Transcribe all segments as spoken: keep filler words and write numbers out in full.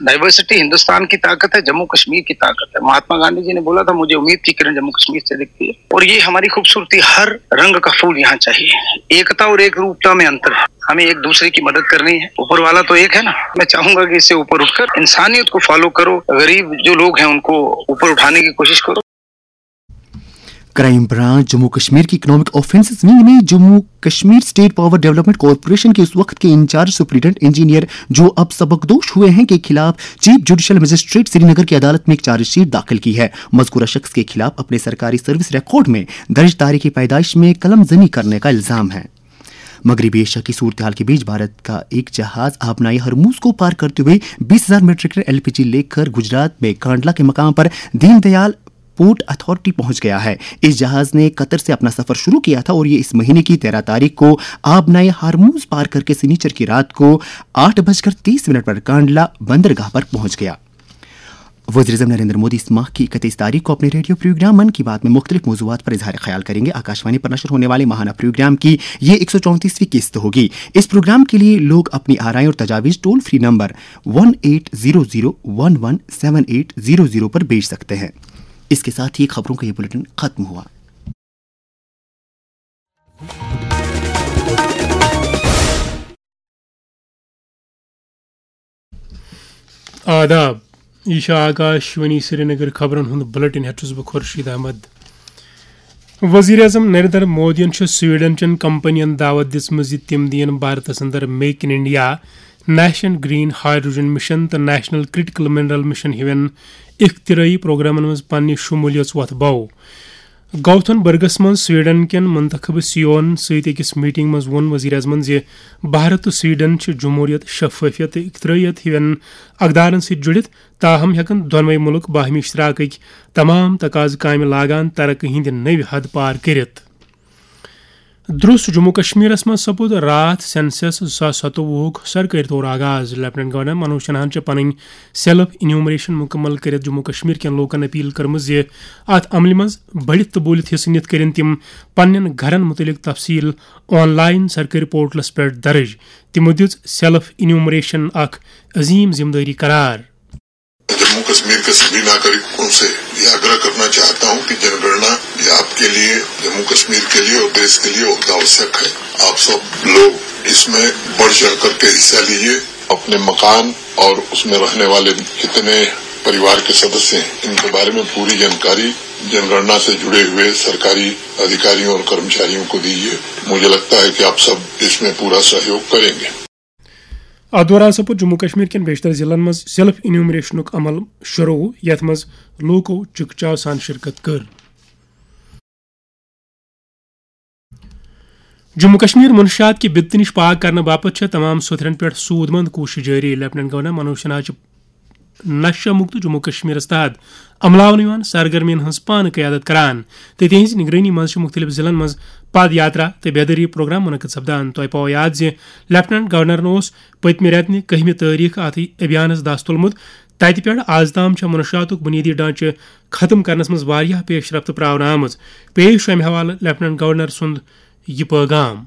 Diversity Hindustan की ताकत है, जम्मू कश्मीर की ताकत है। महात्मा गांधी जी ने बोला था, मुझे उम्मीद की किरण जम्मू कश्मीर से दिखती है। और ये हमारी खूबसूरती, हर रंग का फूल यहाँ चाहिए। एकता और एक रूपता में अंतर है। हमें एक दूसरे की मदद करनी है। ऊपर वाला तो एक है ना, मैं चाहूंगा कि इससे ऊपर उठकर इंसानियत को फॉलो करो, गरीब जो लोग हैं उनको ऊपर उठाने की कोशिश करो। क्राइम ब्रांच जम्मू कश्मीर की इकोनॉमिक ऑफेंसेस विंग ने Jammu Kashmir state power development corporation के उस वक्त के इंचार्ज सुपरिटेंडेंट इंजीनियर, जो अब सबकदोश हुए हैं, के खिलाफ चीफ जुडिशल मजिस्ट्रेट श्रीनगर की अदालत में एक चार्जशीट दाखिल की है। मजकूरा शख्स के खिलाफ अपने सरकारी सर्विस रिकॉर्ड में दर्ज तारीख पैदाइश में कलम जनी करने का इल्जाम है। मगरबी एशिया की सूरत हाल के बीच भारत का एक जहाज आबनाई हरमूज को पार करते हुए बीस हज़ार मीट्रिक टन एलपीजी लेकर गुजरात में कांडला के मकाम पर दीनदयाल पोर्ट अथॉरिटी पहुंच गया है। इस जहाज ने कतर से अपना सफर शुरू किया था और ये इस महीने की तेरह तारीख को आबनाई हरमूज पार करके सिनीचर की रात को आठ बजकर तीस मिनट पर कांडला बंदरगाह पर पहुंच गया। वजीर अजम नरेंद्र मोदी इस माह की इकतीस तारीख को अपने रेडियो प्रोग्राम मन की बात में मुख्तलिफ मौजूआत पर इजहार ख्याल करेंगे। आकाशवाणी पर नशर होने वाले माहाना प्रोग्राम की ये एक सौ चौंतीसवीं किस्त होगी। इस प्रोग्राम के लिए लोग अपनी आराएं और तजावीज़ toll free number one eight zero zero one one seven eight zero zero पर भेज सकते हैं। इसके साथ ही खबरों का ये बुलेटिन खत्म हुआ। آداب، یہِ چھِ آکاشوانی سرینگر۔ خبرن ہُنٛد بلیٹن ہٮ۪تھ چھُس بہٕ خورشید احمد۔ وزیر اعظم نریندر مودیَن چھُ سویڈن چٮ۪ن کمپنین دعوت دِژمٕژ زِ تِم دِیِن بھارتس اندر make in India, national green hydrogen mission تہٕ نیشنل کرٹیکل منرل مشن ہِوٮ۪ن اختراعی پروگرامن منٛز پننہِ شمولیت وۄتھ بو۔ گوتھن برگس منٛز سویڈن کٮ۪ن منتخب سیون سۭتۍ أکِس میٹنگ منٛز ووٚن وزیر اعظمن زِ بھارت تہٕ سویڈن چھِ جمہوریت، شفافیت تہٕ اختراعیت ہِوٮ۪ن اقدارن سۭتۍ جُڑِتھ، تاہم ہٮ۪کن دۄنوَے مُلک باہمی اشتراکٕکۍ تمام تقاضہٕ کامہِ لاگان ترقی ہٕنٛدِ نٔوۍ حد پار کٔرِتھ۔ درٛوس جموں کشمیرس منٛز سپُد راتھ سینسس زٕ ساس ستووُہُک سرکٲرۍ طور آغاز۔ لیفٹیننٹ گورنر منوج سنہاہن چھِ پنٕنۍ سیلف انیومریشن مکمل کٔرِتھ جموں کشمیر کٮ۪ن لوٗکن اپیل کٔرمٕژ زِ اتھ عملہِ منٛز بٔڑِتھ تہٕ بوٗلِتھ حصہٕ نِتھ کٔرِن تِم پننٮ۪ن گرن مُتعلق تفصیل آن لائن سرکٲرۍ پورٹلس پٮ۪ٹھ درٕج۔ تِمو دِژ سیلف انیومریشن اکھ عظیم ذمہٕ دٲری قرار۔ जम्मू कश्मीर के सभी नागरिकों से ये आग्रह करना चाहता हूं कि जनगणना ये आपके लिए, जम्मू कश्मीर के लिए और देश के लिए बहुत आवश्यक है। आप सब लोग इसमें बढ़ चढ़ करके हिस्सा लीजिए। अपने मकान और उसमें रहने वाले कितने परिवार के सदस्य हैं, इनके बारे में पूरी जानकारी जनगणना से जुड़े हुए सरकारी अधिकारियों और कर्मचारियों को दीजिए। मुझे लगता है कि आप सब इसमें पूरा सहयोग करेंगे। اتھ دوران سپُد جموں کشمیر کٮ۪ن بیشتر ضلعن منٛز سیلف انیومریشنُک عمل شروع، یتھ منٛز لوٗکو چکچاو سان شرکت کٔر۔ جموں کشمیر منشیات کہِ بدتہٕ نِش پاک کرنہٕ باپتھ چھےٚ تمام سوٚتھرن پٮ۪ٹھ سوٗد مند کوٗشش جٲری۔ لیفٹیننٹ گورنر منوج سنہا چھِ نشہ مکت جموں کشمیرس تحت عملاونہٕ یِوان سرگرمین ہٕنٛز پانہٕ قیادت کران تہٕ تِہنٛزِ نگرٲنی منٛز چھِ مُختٔلِف ضلعن منٛز پد یاترا تہٕ بیدٲری پروگرام منعقد سپدان۔ تۄہہِ پاوو یاد زِ لیفٹیننٹ گورنرن اوس پٔتمہِ رٮ۪تہٕ نہِ کٔہمہِ تٲریخ اتھ ابھیانس دس تُلمُت۔ تتہِ پٮ۪ٹھ از تام چھےٚ منشیاتُک بنیٲدی ڈھانچہٕ ختم کرنس منٛز واریاہ پیش رفت پراونہٕ آمٕژ۔ پیش چھُ امہِ حوالہٕ لیفٹیننٹ گورنر سُنٛد یہِ پٲغام۔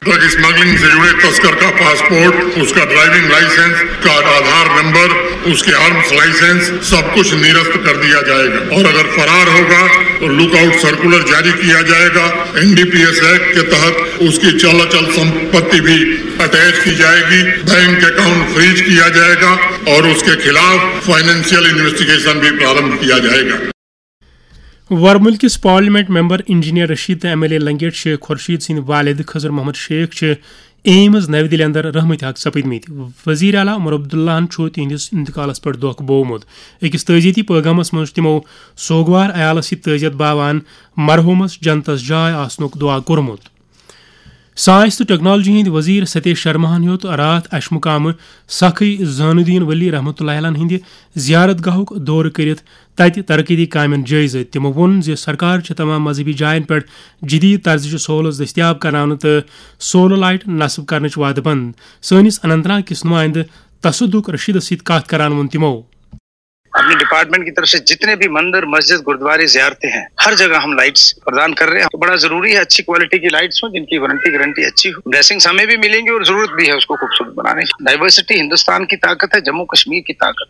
ड्रग स्मगलिंग से जुड़े तस्कर का पासपोर्ट, उसका ड्राइविंग लाइसेंस, उसका आधार नंबर, उसके आर्म्स लाइसेंस, सब कुछ निरस्त कर दिया जाएगा। और अगर फरार होगा तो लुकआउट सर्कुलर जारी किया जाएगा। एनडीपीएस एक्ट के तहत उसकी चल अचल संपत्ति भी अटैच की जाएगी, बैंक अकाउंट फ्रीज किया जाएगा और उसके खिलाफ फाइनेंशियल इन्वेस्टिगेशन भी प्रारंभ किया जाएगा। ورمُلکِس پارلیمنٹ ممبر انجینئر رشید تہٕ M L A Langate Sheikh Khurshid سٕنٛدۍ والد خضر محمد شیخ چھِ ایمز نَوِ دِلہِ اندر رحمتِ حق سپٕدمٕتۍ۔ وزیر اعلیٰ عمر عبداللہَن چھُ تِہنٛدِس انتقالس پٮ۪ٹھ دۄکھ بوومُت۔ أکِس تعزیتی پٲغامس منٛز چھُ تِمو سوگوار عیالس سۭتۍ تعزیت باوان مرحوٗمس جنتس جاے آسنُک دُعا کوٚرمُت۔ ساینس تہٕ ٹیکنالوجی ہٕنٛدۍ وزیر ستیش شرماہن ہیوٚت راتھ اشمقامہٕ سخی زینالدین ولی رحمتہ اللہ علیہ ہٕنٛدِ زیارت گاہُک دورٕ کٔرِتھ تتہِ ترقیتی کامٮ۪ن جٲیزٕ۔ تِمو ووٚن زِ سرکار چھِ تمام مذہبی جاین پٮ۪ٹھ جدید طرزٕچہِ سہولژ دٔستیاب کرناونہٕ تہٕ سولر لائٹ نصب کرنٕچ وعدٕ بنٛد۔ سٲنِس اننت ناگ کِس نُمٲیندٕ تصدق رشیدس سۭتۍ کتھ کران ووٚن تِمو۔ अपने डिपार्टमेंट की तरफ से जितने भी मंदिर, मस्जिद, गुरुद्वारे, जियारतें हैं, हर जगह हम लाइट्स प्रदान कर रहे हैं। तो बड़ा जरूरी है अच्छी क्वालिटी की लाइट्स हो, जिनकी वारंटी गारंटी अच्छी हो। ब्लेसिंग्स हमें भी मिलेंगी और जरूरत भी है उसको खूबसूरत बनाने की। डाइवर्सिटी हिंदुस्तान की ताकत है, जम्मू कश्मीर की ताकत है।